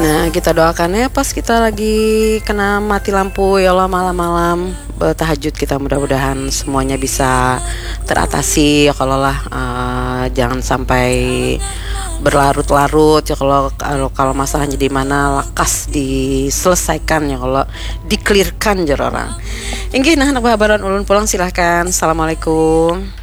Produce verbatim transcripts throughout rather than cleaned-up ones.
Nah, kita doakannya pas kita lagi kena mati lampu, ya Allah, malam-malam bertahajud kita, mudah-mudahan semuanya bisa teratasi, ya kalau lah, eh, jangan sampai berlarut-larut, ya kalau, kalau, kalau masalahnya di mana, lakas diselesaikan, ya kalau dikelirkan, jar orang. Inggih, nah, anak bahabaran ulun pulang, silahkan. Assalamualaikum.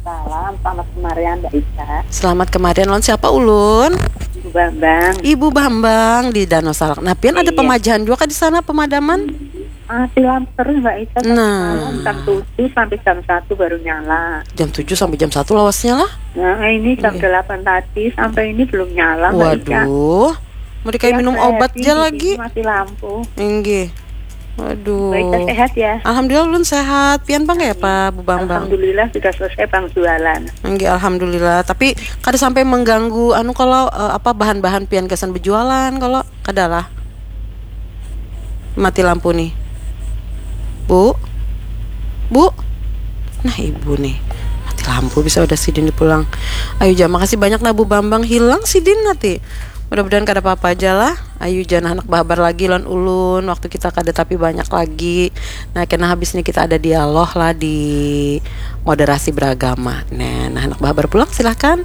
Salam, selamat kemarian Mbak Ica. Selamat kemarian, lawan siapa ulun? Ibu Bambang. Ibu Bambang di Danau Salak. Nah, pian ada Iya. Pemajahan juga kah di sana, pemadaman? Ah, silam terus Mbak Ica. Nah. Malam jam tujuh sampai jam satu baru nyala. Jam tujuh sampai jam satu lawasnya lah. Nah, ini jam Iya. delapan tadi sampai ini belum nyala Mbak Ica. Waduh. Mereka Yang minum saya obat sih aja di lagi. sini mati lampu. Inggih. Waduh. Mbak Ica sehat ya? Alhamdulillah, ulun sehat. Pian pang kaya apa, Bu Bambang? Alhamdulillah sudah selesai pang jualan. Inggih, alhamdulillah. Tapi kada sampai mengganggu anu kalau, eh, apa, bahan-bahan pian gasan berjualan kalau kada lah. Mati lampu nih. Bu. Bu. Nah, ibu nih. Mati lampu, bisa udah sidin dipulang. Ayu ja, makasih banyak nah Bu Bambang, hilang sidin nanti. Mudah-mudahan kada apa-apa aja lah. Ayu ja nah, anak bahabar lagi lawan ulun. Waktu kita kada tapi banyak lagi. Nah, kena habis nih kita ada dialog lah di moderasi beragama. Nah, nah, anak bahabar pulang, silahkan.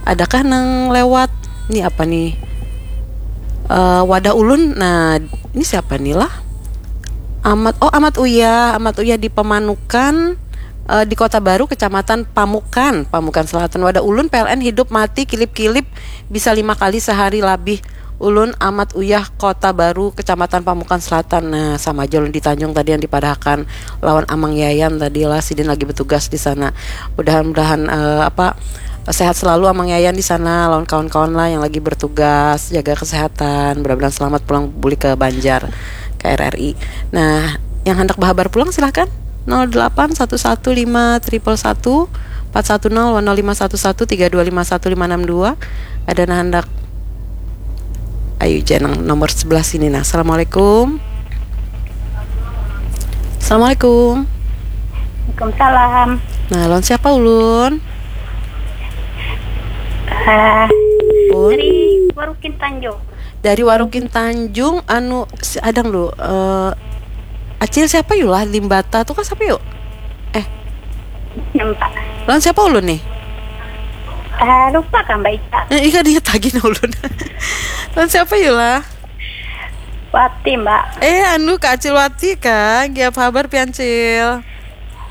Adakah nang lewat? Ini apa nih? Eh, wadah ulun. Nah, ini siapa nih lah? Amat, oh, Amat Uyah, Amat Uyah di Pemanukan, eh, di Kota Baru, Kecamatan Pamukan, Pamukan Selatan. Wadah ulun, P L N hidup mati kilip-kilip, bisa lima kali sehari labih. Ulun Amat Uyah, Kota Baru, Kecamatan Pamukan Selatan. Nah, sama aja ulun di Tanjung tadi yang dipadahakan lawan Amang Yayan tadi lah, sidin lagi bertugas di sana. Mudahan-mudahan, eh, apa, sehat selalu Amang Yayan di sana, lawan kawan-kawan lah yang lagi bertugas, jaga kesehatan. Mudah-mudahan selamat pulang buli ke Banjar, ke R R I. Nah, yang hendak bahabar pulang silahkan. Nol delapan satu satu lima triple satu empat satu nol wan nol lima satu satu tiga dua lima satu lima enam dua. Ada nah hendak. Ayu ja nang nomor sebelah sini nah. Assalamualaikum. Assalamualaikum. Waalaikumsalam. Nah, lawan siapa ulun? Eh, Pun. Dari Warukin Tanjung. Dari Warukin Tanjung, anu, si adang lu, eh, Acil siapa yuk lah, Limbata tuh kan siapa yuk? Eh, Nampak. Lawan siapa ulun nih? Eh, lupa kan Mbak Ica? Eh, ika dia tagih nah ulun. Lawan siapa yuk lah? Wati Mbak. Eh, anu, Kak Acil Wati kah? Gia apa habar pian, Cil?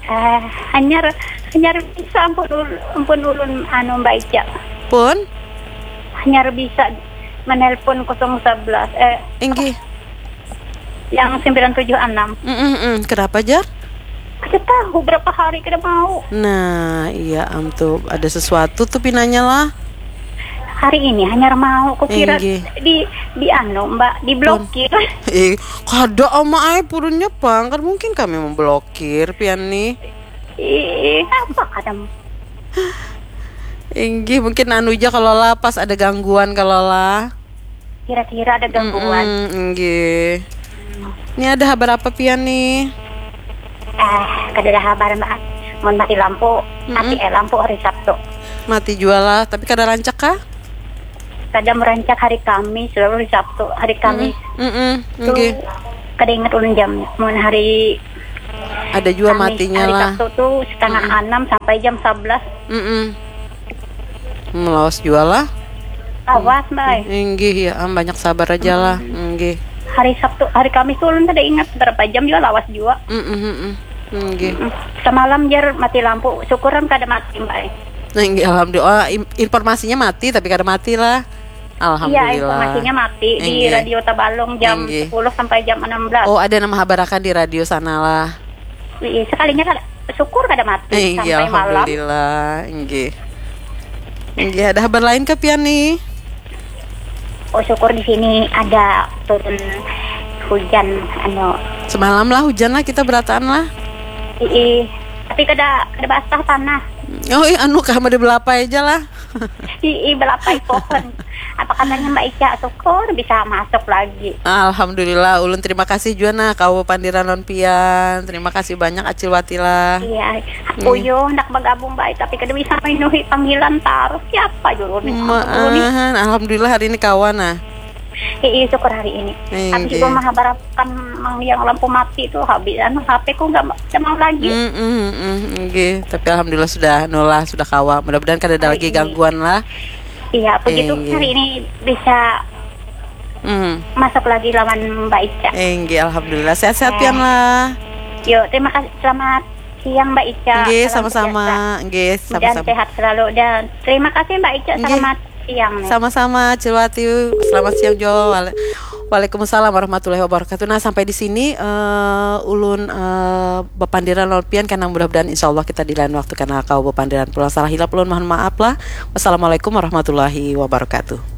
Eh, hanyar hanyar bisa ampun ul- ampun ulun anu Mbak Ica. Pun? Hanyar bisa menelpon kosong sebelas, eh, Inggih. Yang sembilan tujuh enam. Mm, mm, mm. Kenapa, jar? Kada tahu berapa hari kada mau. Nah, iya am tuh ada sesuatu tuh pinanya lah. Hari ini hanyar mau, kukira Inggih. di di anu Mbak, diblokir. Eh, kada ama ai purunnya pang. Kan mungkin kami memblokir pian nih. Ih, apa kada? Inggih, mungkin anu ja kalau lah pas ada gangguan kalau lah. Kira-kira ada gangguan. Mm-mm, inggih. Ini ada habar apa pian nih? Eh, kada ada habar Mbak. Mun mati lampu, mati eh lampu hari Sabtu. Mati jua lah, tapi kada rancak kah? Kada merancak hari Kamis, lalu hari Sabtu, hari Kamis. Mm-mm, Tuh, inggih. Kada ingat ulun jam. Mun hari Ada jua Kamis, matinya hari lah. Sabtu tuh setengah enam sampai jam sebelas. Mm-mm. Melawas jua lah. Awas, Mbak. Inggih ya, am, banyak sabar aja lah. Inggih. Hari Sabtu, hari Kamis tuh ulun kada ingat berapa jam juga lawas juga. Mm-mm, mm-mm. Inggih. Mm. Semalam jar mati lampu, syukuran kada mati, Mbak. Nah, inggih, alhamdulillah. Oh, im- informasinya mati tapi kada mati lah. Iya, Alhamdulillah. Informasinya mati di Inggih. Radio Tabalong jam Inggih. sepuluh sampai jam enam belas. Oh, ada nama habarakan di radio sana lah. Iya, sekalinya kada, syukur kada mati Inggih, sampai malam. Alhamdulillah. Inggih. Inggih, ada habar lain ke pian nih? Oh, syukur di sini ada turun hujan anu. Semalam lah hujan lah kita berataan lah. Ii, tapi kada kada basah tanah. Oh, iya, anu kah, ada belapai aja lah. Ii, belapai pohon. Apa katanya Mbak Ica, syukur bisa masuk lagi. Alhamdulillah, ulun terima kasih jua nah kawa pandiran lawan pian. Terima kasih banyak Acil Wati lah. Iya, uyuh hendak bergabung baik tapi kada bisa memenuhi panggilan tarus. Siapa juru nih? Ampun, ulun nih. Maahan, alhamdulillah hari ini kawa nah. Ii, syukur hari ini. Habis itu mahabarakan mang yang lampu mati tu, habis anu H P ku nggak nggak mau lagi. Hmm, hmm, hmm, nggih. Tapi alhamdulillah sudah nulah sudah kawa. Mudah-mudahan kada ada lagi gangguan lah. Iya, begitu hari ini bisa Hmm. masuk lagi lawan Mbak Ica. Eh, nggih, alhamdulillah sehat-sehat pian lah. Yuk, terima kasih. Selamat siang Mbak Ica. Nggih, Salam sama-sama. sejahtera. Nggih, Mudahan sama-sama. Sehat selalu dan terima kasih Mbak Ica. Nggih. Selamat siang nih. Sama-sama, Cilwati. Selamat siang, Jo. Wale- Waalaikumsalam warahmatullahi wabarakatuh. Nah, sampai di sini eh, ulun eh, bapandiran lawan pian, karena mudah-mudahan insya Allah kita di lain waktu karena kau bapandiran pulang. Salah hilap ulun mohon maaf lah. Wassalamualaikum warahmatullahi wabarakatuh.